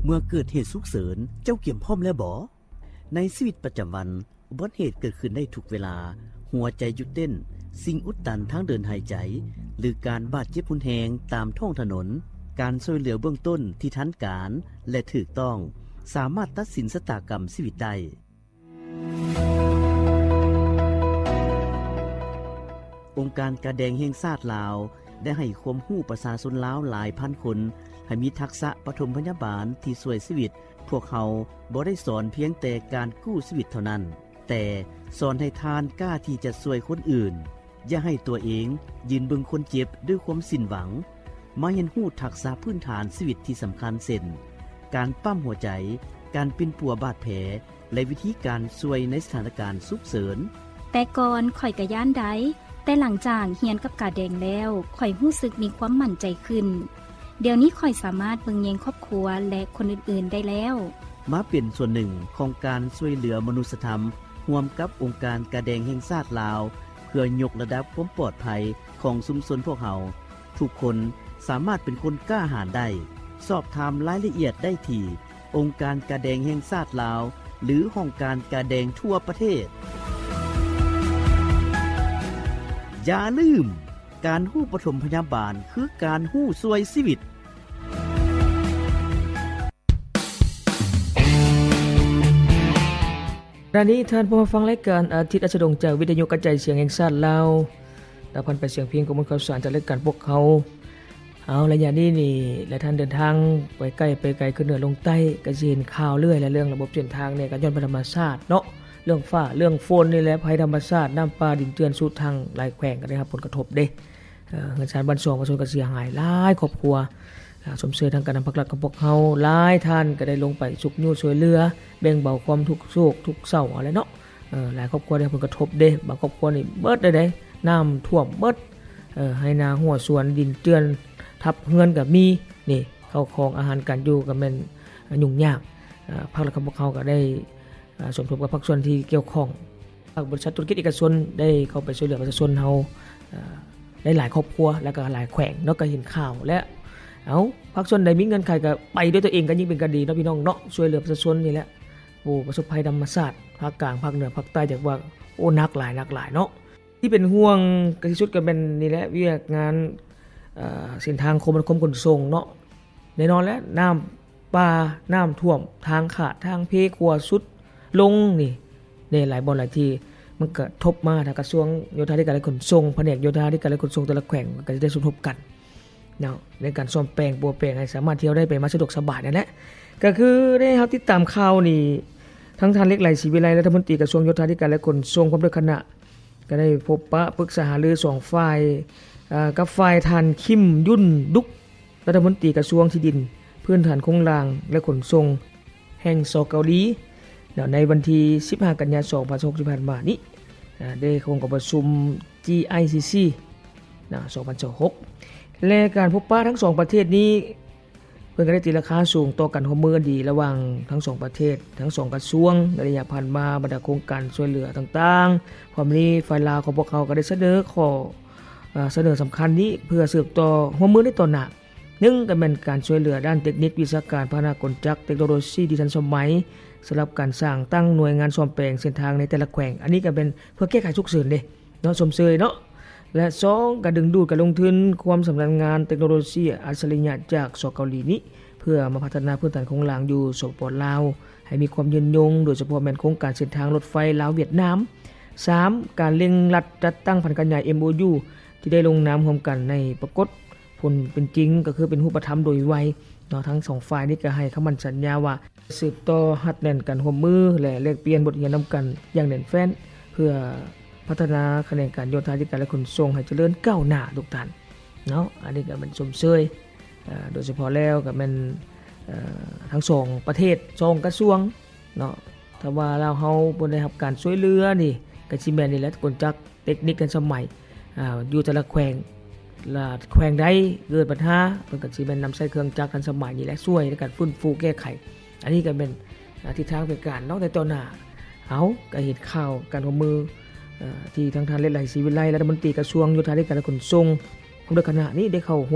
ເມື່ອເກີດເຫດສຸກເສີນ, ເຈົ້າກຽມພ້ອມແລ້ວບໍ? ໃນຊີວິດປະຈຳວັນ, ອຸບັດເຫດເກີດຂຶ້ນໄດ້ທຸກເວລາ, ຫົວໃຈຢຸດເຕັ້ນ, ສິ່ງອຸດຕັນທາງເດີນຫາຍໃຈ ຫຼື ການບາດເຈັບຮຸນແຮງຕາມທ້ອງຖະໜົນ, ການຊ່ວຍເຫຼືອເບື້ອງຕົ້ນທີ່ທັນການ ແລະ ຖືກຕ້ອງ ສາມາດຕັດສິນຊະຕາກຳຊີວິດໄດ້. ອົງການກາແດງແຫ່ງຊາດລາວ ໄດ້ໃຫ້ຄວາມຮູ້ປະຊາຊົນລາວຫຼາຍພັນຄົນ ໃຫ້ມີທັກສະປະຖົມພະຍາບານທີ່ຊ່ວຍຊີວິດ. ພວກເຮົາບໍ່ໄດ້ສອນພຽງແຕ່ການກູ້ຊີວິດເທົ່ານັ້ນ, ແຕ່ສອນໃຫ້ທ່ານກ້າທີ່ຈະຊ່ວຍຄົນອື່ນ. ຢ່າໃຫ້ຕົວເອງຢືນເບິ່ງຄົນເຈັບດ້ວຍຄວາມສິ້ນຫວັງ. ມາຮຽນຮູ້ທັກສະພື້ນຖານຊີວິດທີ່ສຳຄັນ ເຊັ່ນ ການປ້ຳຫົວໃຈ, ການປິ່ນປົວບາດແຜ ແລະ ວິທີການຊ່ວຍໃນສະຖານະການສຸກເສີນ. ແຕ່ກ່ອນຂ້ອຍກະຢ້ານໄດ໋, ແຕ່ຫຼັງຈາກຮຽນກັບກາແດງແລ້ວ, ຂ້ອຍຮູ້ສຶກມີຄວາມໝັ້ນໃຈຂຶ້ນ. ດຽວນີ້ຂ້ອຍສາມາດເບິ່ງແຍງຄອບຄົວ ແລະ ຄົນອື່ນໆໄດ້ແລ້ວ. ມາເປັນສ່ວນໜຶ່ງຂອງການຊ່ວຍເຫຼືອມະນຸດສະທຳ ຮ່ວມກັບອົງການກາແດງແຫ່ງຊາດລາວ ເພື່ອຍົກລະດັບຄວາມປອດໄພຂອງຊຸມຊົນພວກເຮົາ. ທຸກຄົນສາມາດເປັນຄົນກ້າຫານໄດ້. ສອບຖາມລາຍລະອຽດໄດ້ທີ່ອົງການກາແດງແຫ່ງຊາດລາວ ຫຼື ຫ້ອງການກາແດງທົ່ວປະເທດ. ຢ່າລືມ, ການຮູ້ປະຖົມພະຍາບານຄືການຮູ້ຊ່ວຍຊີວິດ. ຂະນະນີ້ທ່ານພວມມາຟັງລາຍການອາທິດອັດສະດົງ ຈາກວິທະຍຸກະຈາຍສຽງແຫ່ງຊາດລາວ, ລະພັນໄປສຽງເພງ, ຂໍ້ມູນຂ່າວສານຈາກລາຍການພວກເຮົາ. ເອົາ ໄລຍະນີ້ນີ້ ຫຼາຍທ່ານເດີນທາງໄປໃກ້ໄປໄກ, ຂຶ້ນເໜືອລົງໃຕ້, ກະຊິເຫັນຂ່າວເລື້ອຍແຫຼະ ເລື່ອງລະບົບເສັ້ນທາງນີ້ ກະຍ້ອນໄປທຳມະຊາດເນາະ, ເລື່ອງຟ້າເລື່ອງຝົນນີ້ແຫຼະ, ໄພທຳມະຊາດ, ນ້ຳປ່າດິນເຈື່ອນຊຸດທັງ, ຫຼາຍແຂວງກະໄດ້ຮັບຜົນກະທົບເດ້. ເອີ ເຮືອນຊານບ້ານຊ່ອງປະຊາຊົນກະເສຍຫາຍຫຼາຍຄອບຄົວ. ເອີ ຊົມເຊີຍທາງການນຳພາກລັດຂອງພວກເຮົາ, ຫຼາຍທ່ານກະໄດ້ລົງໄປຊຸກຍູ້ຊ່ວຍເຫຼືອ, ແບ່ງເບົາຄວາມທຸກໂສກທຸກເສົ້າເອົາແຫຼະເນາະ. ເອີ ຫຼາຍຄອບຄົວໄດ້ຮັບຜົນກະທົບເດ້, ບາງຄອບຄົວນີ້ເບິດເລີຍເດ້, ນ້ຳຖ້ວມເບິດ, ເອີ ໄຮ່ນາຮົ່ວສວນ, ດິນເຈື່ອນທັບເຮືອນກະມີ. ນີ້ ເຂົ້າຂອງອາຫານການຢູ່ກະແມ່ນຫຍຸ້ງຍາກ. ເອີ ພາກລັດຂອງພວກເຮົາກະໄດ້ ເອີ ສົມທົບກັບພາກສ່ວນທີ່ກ່ຽວຂ້ອງ, ພາກບໍລິສັດທຸລະກິດເອກະຊົນໄດ້ເຂົ້າໄປຊ່ວຍເຫຼືອປະຊາຊົນເຮົາ ເອີ ໄດ້ຫຼາຍຄອບຄົວ ແລະກະຫຼາຍແຂວງເນາະ, ກະເຫັນຂ່າວແລ້ວ. ເອົາ ພາກສ່ວນໃດມີເງື່ອນໄຂກະໄປດ້ວຍຕົວເອງກະຍິ່ງເປັນການດີເນາະ ພີ່ນ້ອງເນາະ, ຊ່ວຍເຫຼືອປະຊາຊົນນີ້ແຫຼະ ຜູ້ປະສົບໄພທຳມະຊາດ ພາກກາງ, ພາກເໜືອ, ພາກໃຕ້, ຈັກວ່າ ໂອ້ ໜັກຫຼາຍ, ໜັກຫຼາຍເນາະ. ທີ່ເປັນຫ່ວງກະທີ່ສຸດກະແມ່ນນີ້ແຫຼະ ວຽກງານ ເອີ ເສັ້ນທາງຄົມມະນາຄົມຂົນສົ່ງເນາະ. ແນ່ນອນແຫຼະ ນ້ຳປ່າ, ນ້ຳຖ້ວມ, ທາງຂາດ, ທາງເພ, ຂົວຊຸດລົງນີ້ ແນ່ ຫຼາຍບ່ອນຫຼາຍທີ່ ມັນກະທົບມາທາງກະຊວງໂຍທາທິການ ແລະ ຂົນສົ່ງ, ພະແນກໂຍທາທິການ ແລະ ຂົນສົ່ງແຕ່ລະແຂວງ ກະຈະໄດ້ສົມທົບກັນເນາະ ໃນການສ້ອມແປງປົວແປງໃຫ້ສາມາດທ່ຽວໄດ້ໄປມາສະດວກສະບາຍນັ້ນແຫຼະ. ກະຄືໄດ້ເຮົາຕິດຕາມຂ່າວນີ້ ທັງທ່ານ ເລັກໄຫຼ ສີວິໄລ ລັດຖະມົນຕີກະຊວງໂຍທາທິການ ແລະ ຂົນສົ່ງ ພ້ອມດ້ວຍຄະນະ ກະໄດ້ພົບປະປຶກສາຫາລືສອງຝ່າຍ ເອີ ກັບຝ່າຍທ່ານ ຄິມ ຢຸນດຸກ ລັດຖະມົນຕີກະຊວງທີ່ດິນ, ພື້ນຖານໂຄງລ່າງ ແລະ ຂົນສົ່ງແຫ່ງ ສ ເກົາຫຼີ ເນາະ ໃນວັນທີສິບຫ້າ ກັນຍາ ສອງພັນຊາວຫົກ ທີ່ຜ່ານມານີ້ ເອີ ໄດ້ເຂົ້າຮ່ວມກອງປະຊຸມ ຈີໄອຊີຊີ ເນາະ ສອງພັນຊາວຫົກ ແລະ ການພົບປະທັງສອງປະເທດນີ້ ເພິ່ນກະໄດ້ຕີລາຄາສູງຕໍ່ການຮ່ວມມືອັນດີລະຫວ່າງທັງສອງປະເທດ, ທັງສອງກະຊວງ. ໃນໄລຍະຜ່ານມາ, ບັນດາໂຄງການຊ່ວຍເຫຼືອຕ່າງໆ ພ້ອມນີ້ ຝ່າຍລາວຂອງພວກເຮົາກະໄດ້ສະເໜີຂໍ້ ເອີ ສະເໜີສຳຄັນນີ້ ເພື່ອສືບຕໍ່ຮ່ວມມືໃນຕໍ່ໜ້າ. ໜຶ່ງ ກະແມ່ນການຊ່ວຍເຫຼືອດ້ານເຕັກນິກ, ວິຊາການ, ພາຫະນະ, ກົນຈັກ, ເຕັກໂນໂລຊີທີ່ທັນສະໄໝ ສຳລັບການສ້າງຕັ້ງໜ່ວຍງານສ້ອມແປງເສັ້ນທາງໃນແຕ່ລະແຂວງ. ອັນນີ້ກະແມ່ນເພື່ອແກ້ໄຂສຸກເສີນເດ້ ເນາະ ຊົມເຊີຍເນາະ. ແລະ ສອງ ກະດຶງດູດການລົງທຶນ, ຄວາມຊຳນານງານເຕັກໂນໂລຊີອັດສະລິຍະຈາກ ສ ເກົາຫຼີນີ້ ເພື່ອມາພັດທະນາພື້ນຖານໂຄງລ່າງຢູ່ ສປປ ລາວ ໃຫ້ມີຄວາມຍືນຍົງ, ໂດຍສະເພາະແມ່ນໂຄງການເສັ້ນທາງລົດໄຟລາວ-ຫວຽດນາມ. ສາມ ການເລັ່ງລັດຈັດຕັ້ງຜັນຂະຫຍາຍ ເອັມໂອຢູ ທີ່ໄດ້ລົງນາມຮ່ວມກັນໃນປາກົດຜົນເປັນຈິງ ກະຄືເປັນຮູບປະທຳໂດຍໄວເນາະ. ທັງສອງຝ່າຍນີ້ກະໃຫ້ຄຳໝັ້ນສັນຍາວ່າ ສືບຕໍ່ຮັດແໜ້ນການຮ່ວມມື ແລະ ແລກປ່ຽນບົດຮຽນນຳກັນຢ່າງແໜ້ນແຟ້ນ ເພື່ອພັດທະນາຂະແໜງການໂຍທາທິການ ແລະ ຂົນສົ່ງໃຫ້ຈະເລີນກ້າວໜ້າທຸກທ່ານເນາະ. ອັນນີ້ກະແມ່ນຊົມເຊີຍ ເອີ ໂດຍສະເພາະແລ້ວກະແມ່ນ ເອີ ທັງສອງປະເທດ ສອງກະຊວງເນາະ. ຖ້າວ່າລາວເຮົາບໍ່ໄດ້ຮັບການຊ່ວຍເຫຼືອນີ້ ກະຊິແມ່ນນີ້ແຫຼະ ກົນຈັກ ເຕັກນິກທັນສະໄໝ ອາ ຢູ່ແຕ່ລະແຂວງ ລະແຂວງໃດເກີດບັນຫາ ເພິ່ນກະຊິແມ່ນນຳໃຊ້ເຄື່ອງຈັກທັນສະໄໝນີ້ແຫຼະ ຊ່ວຍໃນການຟື້ນຟູແກ້ໄຂ. ອັນນີ້ກະແມ່ນ ອາ ທິດທາງແຜນການເນາະ ໃນຕໍ່ໜ້າ. ເອົາ ກະເຫັນຂ່າວການຮ່ວມມື ເອີ ທີ່ທາງທ່ານ ເລັກໄຫຼ ສີວິໄລ ລັດຖະມົນຕີກະຊວງໂຍທາທິການ ແລະ ຂົນສົ່ງ ພ້ອມດ້ວຍຄະນະນີ້ໄດ້ເຂົ້າ